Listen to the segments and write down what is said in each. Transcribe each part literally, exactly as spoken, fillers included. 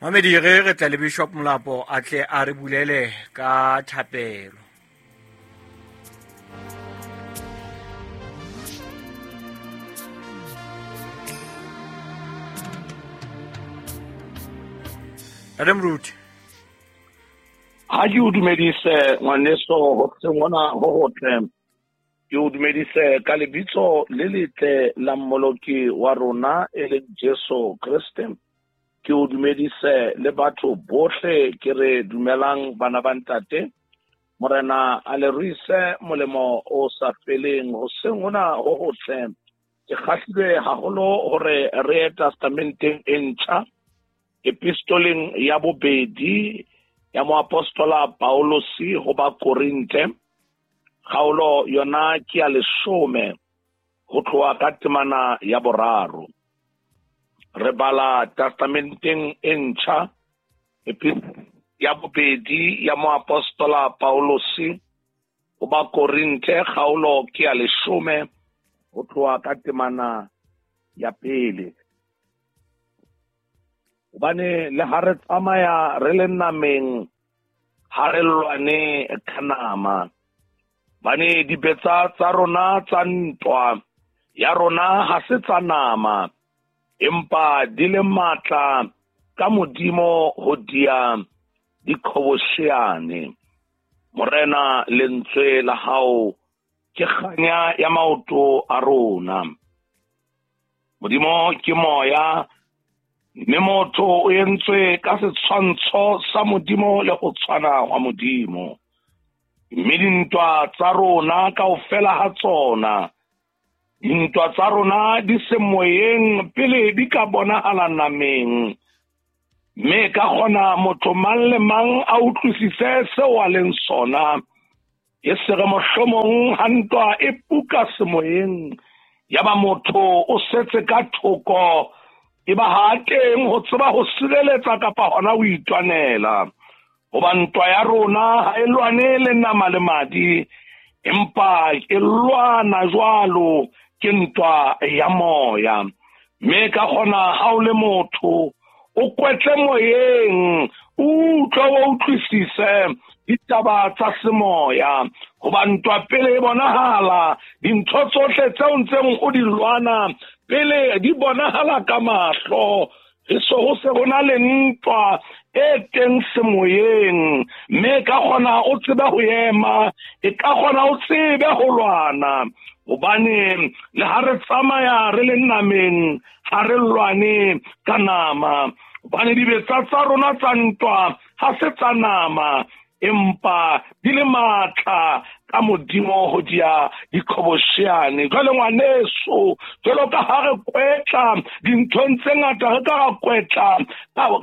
Mamedi re re tla le Bishop Molapo a tle a re bulele ka thapelo. Adam Ruth. Ha ke o dumedise ngwaneso hoseng hona ho hotle. Ke o dumedise ka lebitso le letle la Mmoloki wa rona e leng Jesu Kreste. Ke o dumedise le batho bohle ke re dumelang bana ba ntate. Morena a le ruise molemo o sa feleng hoseng hona ho hotle. Ke kgahlilwe haholo hore re ye testamenteng e ntjha, epistoleng ya bobedi ya moapostola Paulosi ho ba Korinthe, kgaolo yona ke ya leshome ho tloha ka temana ya boraro. Re bala testamenteng e ntjha ya bobedi ya moapostola Paulosi ho ba Korinthe, kgaolo ke ya leshome ho tloha ka temana ya pele. Hobane le ha re tsamaya re le nameng, ha re lwane ka nama. Hobane dibetsa tsa rona tsa ntwa ya rona ha se tsa nama, empa di le matla ka Modimo ho dia diqhobosheane. Morena, lentswe la hao ke kganya ya maoto a rona. Modimo ke moya, mme motho o entswe ka setshwantsho sa Modimo le ho tshwana hwa Modimo. Mme dintwa tsa rona kaofela ha tsona, dintwa tsa rona di se moyeng pele di ka bonahala nameng. Mme ka kgona motho mang le mang a utlwisise seo a leng sona. E se re mohlomong ha ntwa e puka semoyeng, ya ba motho o setse ka thoko, e ba ha teng ho tseba ho sireletsa kapa hona ho itwanela. Hoba ntwa ya rona ha e lwane le nama le madi, empa e lwana jwalo ke ntwa ya moya. Mme ka kgona ha o le motho o kwetle moyeng, o utlwe o utlwisise ditaba tsa semoya. Hoba ntwa pele e bonahala, dintho tsohle tseo ntseng o di lwana pele di bonahala ka mahlo. E so ho se ho na le ntwa e teng semoyeng, mme ka kgona o tsebe ho ema, e ka kgona o tsebe ho lwana. Hobane le ha re tsamaya re le nameng, ha re lwane ka nama. Hobane dibetsa tsa rona tsa ntwa ha se tsa nama, empa di le matla ka Modimo ho dia diqhobosheane. Jwale ngwaneso, jwalo ka ha re kwetla dinthong tse ngata, re ka ra kwetla,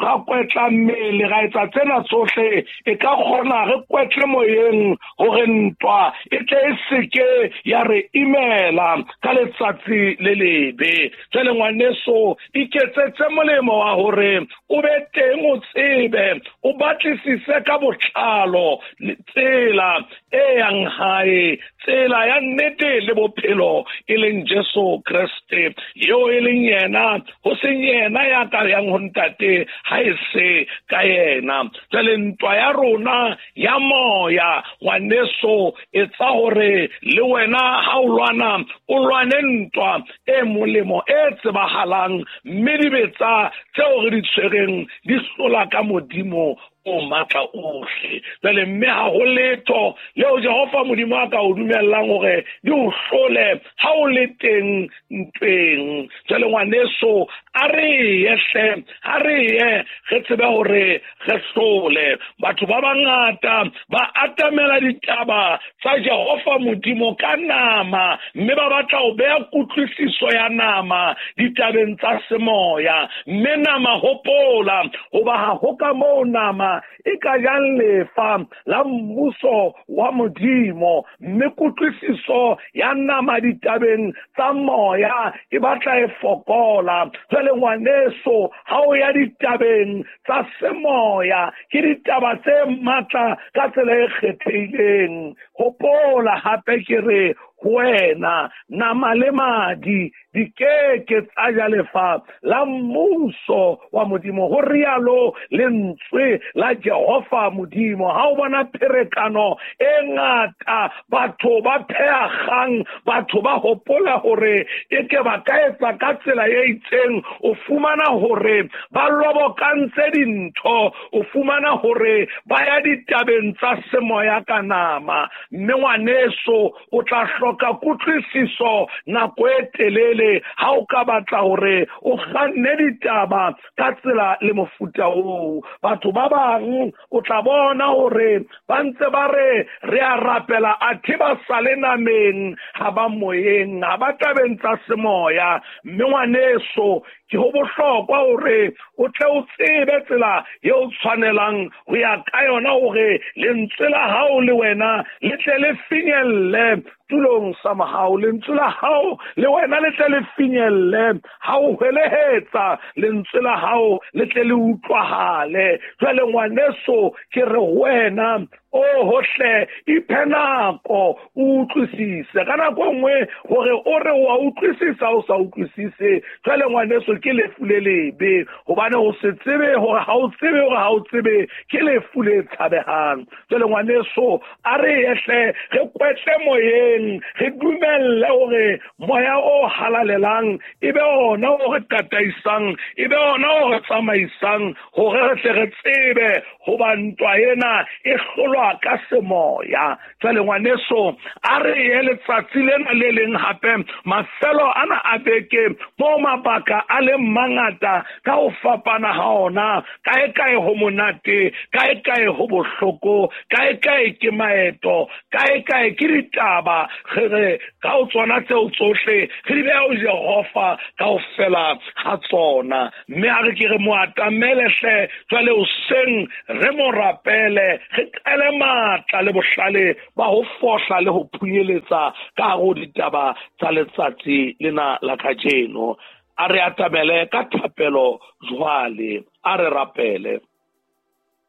ra kwetla mmele, ra etsa tsena tsohle, e ka kgona re kwetle moyeng hore ntwa e tle e seke ya re imela ka letsatsi le lebe. Jwale ngwaneso, iketsetse molemo wa hore o be teng, o tsebe, o batlisise ka botlalo tsela e yang hae, tsela ya nnete le bophelo e leng Jesu Kreste, eo e leng yena, ho seng yena ya ka yang ho ntate ha e se ka yena. Jwale ntwa ya rona ya moya, ngwaneso, etsa hore le wena ha o lwana, o lwane ntwa e molemo e tsebahalang, mme dibetsa tseo re di tshwereng di hlola ka Modimo o matla ohle. Jwale mme ha ho letho leo Jehova Modimo a ka o dumellang hore di o hlole ha o le teng ntweng. Jwale ngwaneso, a re ye hle, a re ye re tsebe hore re hlole. Batho ba bangata ba atamela ditaba tsa Jehova Modimo ka nama, mme ba batla ho beha kutlwisiso ya nama ditabeng tsa semoya. Mme nama, hopola hoba ha ho ka moo nama e ka jang lefa la mmuso wa Modimo. Mme kutlwisiso ya nama ditabeng tsa moya e batla e fokola. Jwale ngwaneso, ha o ya ditabeng tsa semoya, ke ditaba tse matla ka tsela e kgethehileng. Hopola hape ke re ho wena, nama le madi di ke ke tsa ja lefa la mmuso wa Modimo. Ho rialo lentswe la Jehova Modimo. Ha o bona pherekano e ngata, batho ba pheagang, batho ba hopola hore e ke ba ka etsa ka tsela e itseng, o fumana hore ba lobokantse dintho, o fumana hore ba ya ditabeng tsa semoya ka nama. Mme ngwaneso, o tla hloka kutlwisiso nako e telele ha o ka batla hore o kganne ditaba ka tsela le mofuta oo. Batho ba bang o tla bona hore ba ntse ba re re a rapela, athe ba sale nameng, ha ba moyeng, ha ba tabeng tsa semoya. Mme ngwaneso, ke ho bohlokwa hore o tle o tsebe tsela eo o tshwanelang ho ya ka yona, hore lentswe la hao le wena le tle le finyelle tulong sa mohau. Lentswe la hao le wena le tle le finyelle ha o hwelehetsa, lentswe la hao le tle le utlwahale. Jwale ngwaneso, ke re ho wena, o hohle iphe nako o utlwisise. Ka nako e nngwe hore o re wa utlwisisa o sa utlwisise, jwale ngwaneso ke lefu le lebe, hobane o se tsebe hore ha o tsebe hore ha o tsebe ke lefu le tshabehang. Jwale ngwaneso, a re ehle re kwetle moyeng, re dumelle hore moya o halalelang e be ona o re tataisang, e be ona o re tsamaisang, hore re tle re tsebe hoba ntwa ena e hlolwa ka semoya. Jwale ngwaneso, a re ye letsatsi lena le leng hape, mafelo ana a beke mo mabaka a leng mangata ka ho fapana ha ona, kae kae ho monate, kae kae ho bohloko, kae kae ke maeto, kae kae ke ditaba. Re re ka ho tsona tseo tsohle re di beha ho Jehova kaofela ha tsona. Mme a re ke re mo atamele hle jwale hoseng, re mo rapele, re qele matla le bohlale ba ho fohla le ho phunyeletsa ka hare ho ditaba tsa letsatsi lena la kajeno. A re atamele ka thapelo jwale, a re rapele.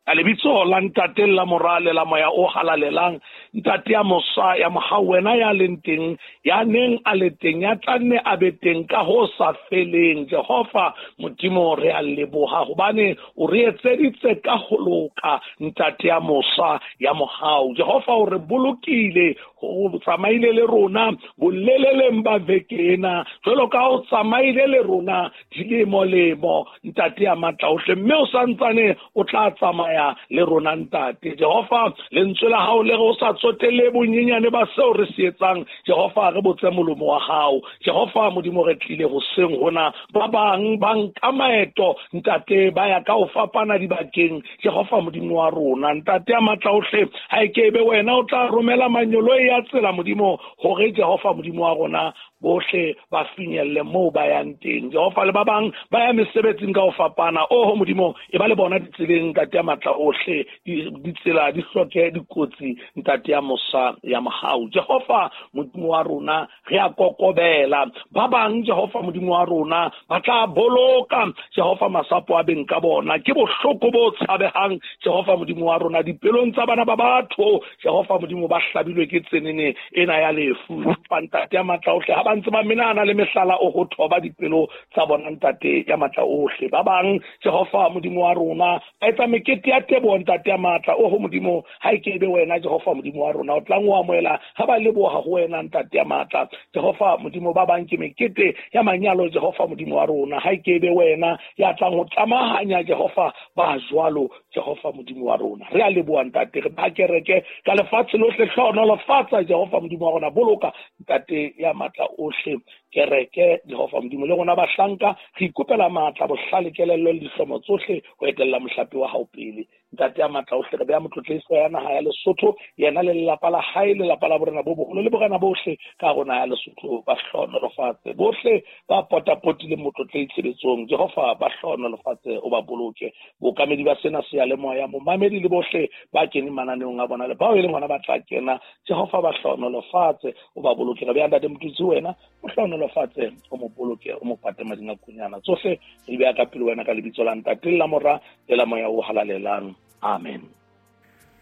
Ka lebitso la Ntate la Mora le la Moya o Halalelang, Ntate ya mosa ya mohau, wena ya leng teng, ya neng a le teng, ya tla nne a be teng ka ho sa feleng. Jehova Modimo, re a leboha hobane o re etseditse ka ho loka, Ntate ya mosa ya mohau. Jehova, o re bolokile, o tsamaile le rona boleleleng ba veke ena, jwalo ka o tsamaile le rona dilemo-lemo, Ntate ya matla ohle, mme o santsane o tla tsamaya le rona, Ntate. Jehova, lentswe la hao le re o sa tsotelle bonyenyane ba seo re se etsang, Jehova, re botse molomo wa hao. Jehova Modimo, re tlile hoseng hona, ba bang ba nka maeto, Ntate, ba ya ka ho fapana dibakeng. Jehova Modimo wa rona, Ntate ya matla ohle, ha e ke be wena o tla romela manyoloi ya tsela, Modimo, hore Jehova Modimo wa rona bohle ba finyelle moo ba yang teng. Jehova, le ba bang ba ya mesebetsing ka ho fapana, oho Modimo, e ba le bona ditseleng, Ntate ya matla ohle, ditsela di hloke dikotsi, Ntate ya mosa ya mohau. Jehova Modimo wa rona, re a kokobela. Ba bang, Jehova Modimo wa rona, ba tla boloka, Jehova, masapo a beng ka bona. Ke bohloko bo tshabehang, Jehova Modimo wa rona, dipelong tsa bana ba batho. Jehova Modimo, ba hlabilwe ke tsenene ena ya lefu. Ntate ya matla ohle, ha ba ntse ba menana le mehlala o ho thoba dipelo tsa bona, Ntate ya matla ohle. Ba bang, Jehova Modimo wa rona, ba etsa mekete ya teboho, Ntate ya matla oho Modimo, ha e ke be wena, Jehova Modimo wa rona, o tlang o amohela ha ba leboha ho wena, Ntate ya matla. Jehova Modimo, ba bang ke mekete ya manyalo, Jehova Modimo wa rona, ha e ke be wena ya tlang ho tlamahanya, Jehova, ba jwalo, Jehova Modimo wa rona. Re a leboha, Ntate, re ba kereke ka lefatshe lohle, hlohonolofatsa, Jehova Modimo wa rona, boloka, Ntate ya matla ohle, kereke, Jehova Modimo, le rona bahlanka re ikopela matla, bohlale, kelello le dihlomo tsohle ho etella mohlape wa hao pele. Ntate ya matla ohle, re beha motlotlehiso ya naha ya Lesotho, yena le lelapa la hae, lelapa la borena bo boholo le borena bohle ka rona ya Lesotho, ba hlohonolofatse. Bohle ba potapotileng motlotlehi tshebetsong, Jehova, ba hlohonolofatse, o ba boloke. Bookamedi ba sena seyalemoya, momamedi le bohle ba keneng mananeong a bona le bao e leng hona ba tla kena, Jehova, ba hlohonolofatse, o ba boloke. Re beha Ntate Motutsi, wena o hlohonolofatse, o mo boloke, o mo pate mading a kunyana. Tsohle re di beha ka pele wena ka lebitso la Ntate le la Mora le la Moya o Halalelang. Amen.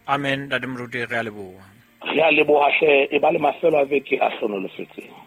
Amen. Ntate Moruti, re a leboha. Re a leboha hle, e ba le mafelo a veke a hlonolofetseng.